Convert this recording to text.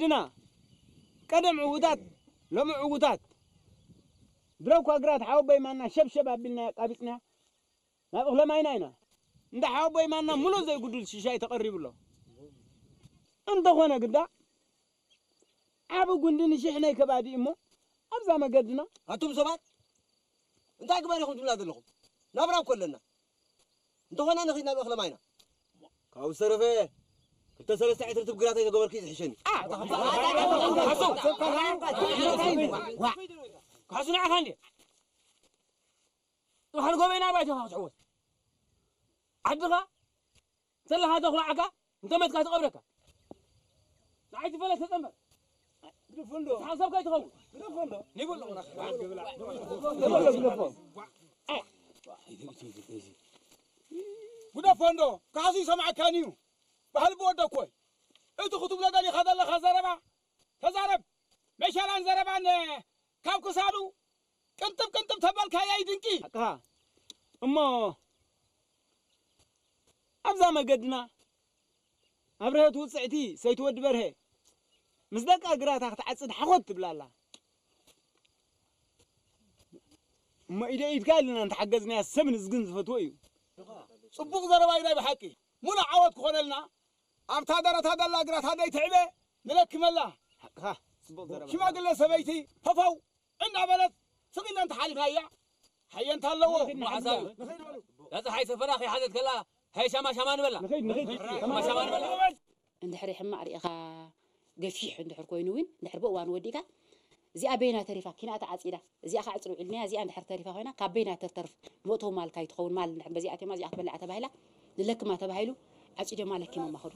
ወለድና ቀደም ዕዉታት ሎሚ ዕዉታት ድረኳ ግራት ሓወቦይ ማና ሸብሸብ ኣቢልና ኣቃቢጽና ናብ እኽለ ማይና ኢና። እንዳ ሓወቦይ ማና ሙሉእ ዘይጉድል ሽሻይ ተቐሪቡ ኣሎ። እንተኾነ ግዳ ዓቢ ጉንዲ ንሽሕ ናይ ከባዲ እሞ ኣብዛ መገድና ኣቱም ሰባት እንታይ ግበር ኢኹም ትብላ ዘለኹም? ናብራ እኮ ኣለና። እንተኾነ ንኺድ ናብ እኽለ ማይና። ካብኡ ዝተረፈ ክልተ ሰለስተ ዕትርትብ ግራት ኣይተገበርኪ ዝሕሸኒ። ካሱ ንዓኻ እንዴ? ጥብሓን ጎበይና ባይቶኻ ክትሕወስ ዓድኻ ዘለኻ ተኹላዓካ እንተ መትካ ትቐብረካ። ንዓይ ትፈለስ ተጸንበር። ግደፎ እንዶ። ሓንሳብ ከይትኸውን። ግደፎ እንዶ። ግደፎ እንዶ። ካሱ ይሰምዓካን እዩ። ባህሊ ብወደኮይ። እቲ ክትብሎ ደሊኻ ዘለኻ ዘረባ ተዛረብ። መሸላን ዘረባን ካብ ክሳዱ ቅንጥብ ቅንጥብ ተበልካያ ይድንቂ። ሓቅኻ። እሞ ኣብዛ መገድና ኣብርሀት ውፅዕቲ ሰይቲ ወዲ በርሀ ምስ ደቃ ግራታ ክትዓፅድ ሓኾት ትብላ ኣላ። እሞ ኢደ ኢድካ ኢልና እንተሓገዝናያ ሰብ ንዝግን ዝፈትዎ እዩ። ጽቡቕ ዘረባ እዩ ናይ ብሓቂ። ሙሉእ ዓወት ክኾነልና ኣብታ ደረታ ዘላ ግራታ ደይ ትዕበ ንለክመላ። ሓቅኻ፣ ጽቡቕ ዘረባ። ሽማግለ ሰበይቲ ፈፈው እናበለት ስቕ ኢልና እንተሓሊፍናያ ሓየንታ ኣለዎ። እሞ ሓሳብ እዛ ፀሓይ ሰፈራ ከይሓዘት ከላ ሃይ ሻማ ሻማ ንበላ። ንኸይድ፣ ንኸይድ። ሻማ ሻማ ንበላ። እንድሕሪ ሕማቕ ርኢኻ ገፊሕ እንድሕር ኮይኑ እውን እንድሕር ብእዋኑ ወዲእካ እዚኣ በይና ተሪፋ ኪናኣ ተዓፂዳ እዚኣ ካዕፅሩ ኢልናያ እዚኣ እንድሕር ተሪፋ ኮይና ካብ በይና ተተርፍ መእተዊ ማልካ ይትኸውን ማል እንድሕር በዚኣ ኣትየማ እዚኣ ክበልዓ ተባሂላ ንለክማ ተባሂሉ ዓፂዶማ ለኪሞማ ከዱ።